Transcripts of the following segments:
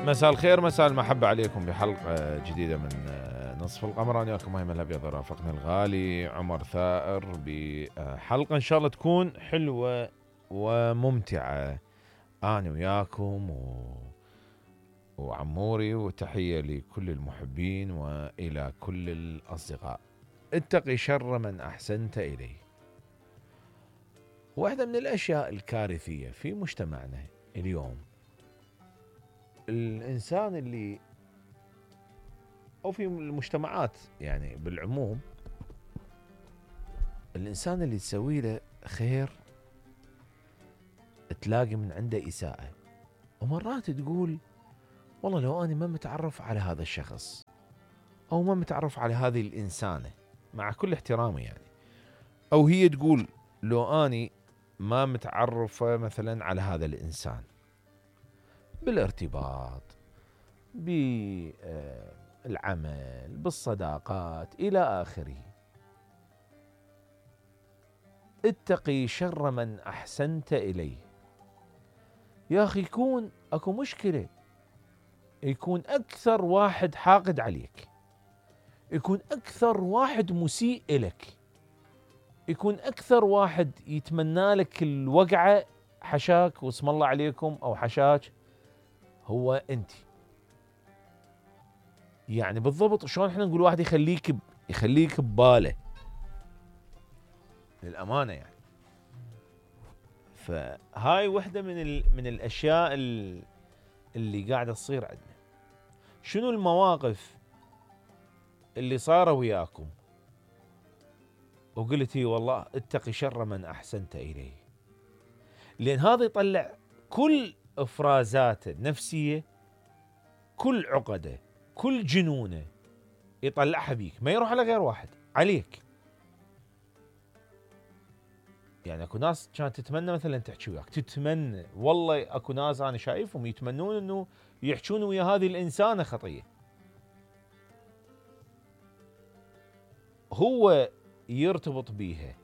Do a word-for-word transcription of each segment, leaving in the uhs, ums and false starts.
مساء الخير، مساء المحبة عليكم بحلقة جديدة من نصف القمر. أنا وياكم أيمن الأبيض، رافقنا الغالي عمر ثائر بحلقة إن شاء الله تكون حلوة وممتعة. أنا وياكم و... وعموري، وتحية لكل المحبين وإلى كل الأصدقاء. اتقي شر من أحسنت إليه. واحدة من الأشياء الكارثية في مجتمعنا اليوم، الإنسان اللي أو في المجتمعات يعني بالعموم، الإنسان اللي تسوي له خير تلاقي من عنده إساءة، ومرات تقول والله لو أنا ما متعرف على هذا الشخص أو ما متعرف على هذه الإنسانة، مع كل احترامي يعني، أو هي تقول لو أنا ما متعرفة مثلا على هذا الإنسان بالارتباط، بالعمل، بالصداقات إلى آخره. اتقي شر من أحسنت إليه. يا أخي يكون أكو مشكلة، يكون أكثر واحد حاقد عليك، يكون أكثر واحد مسيء إلك، يكون أكثر واحد يتمنى لك الوقعة، حشاك واسم الله عليكم أو حشاك، هو أنت. يعني بالضبط شلون احنا نقول واحد يخليك يخليك بباله للأمانة يعني. فهاي وحدة من ال... من الأشياء اللي قاعدة تصير عندنا. شنو المواقف اللي صاروا وياكم وقلتي والله اتقي شر من أحسنت إليه؟ لأن هذا يطلع كل إفرازاته النفسية، كل عقده، كل جنونه يطلعها بيك، ما يروح على غير واحد، عليك. يعني اكو ناس كانت تتمنى مثلا تحكي وياك، تتمنى والله اكو ناس انا شايفهم يتمنون انه يحجون ويا هذه الانسانه خطيه، هو يرتبط بيها،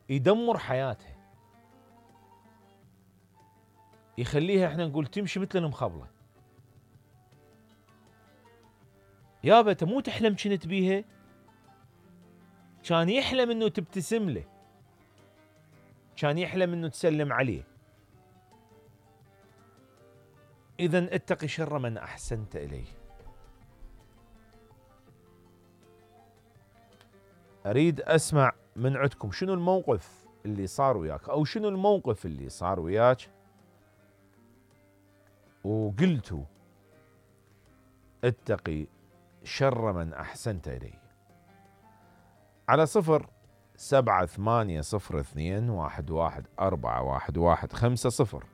يدمر حياتها، يخليها احنا نقول تمشي مثل المخبله. يابا انت مو تحلم كنت بيها، كان يحلم انه تبتسم له، كان يحلم انه تسلم عليه. اذن اتقي شر من احسنت اليه. اريد اسمع من عندكم شنو الموقف اللي صار وياك، او شنو الموقف اللي صار وياك وقلتوا اتقي شر من أحسنت إليه. على صفر سبعة ثمانية صفر اثنين واحد واحد أربعة واحد واحد خمسة صفر،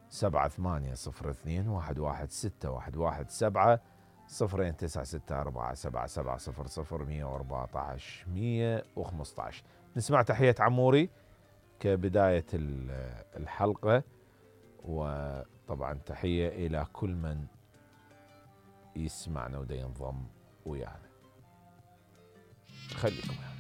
سبعة ثمانية صفر اثنين واحد واحد ستة واحد واحد سبعة صفرين تسعة ستة أربعة سبعة سبعة صفر صفر مية وأربعة عشر مية وخمسة عشر. نسمع تحية عموري كبداية الحلقة، وطبعا تحية إلى كل من يسمعنا ودا ينضم ويانا. خليكم يعني.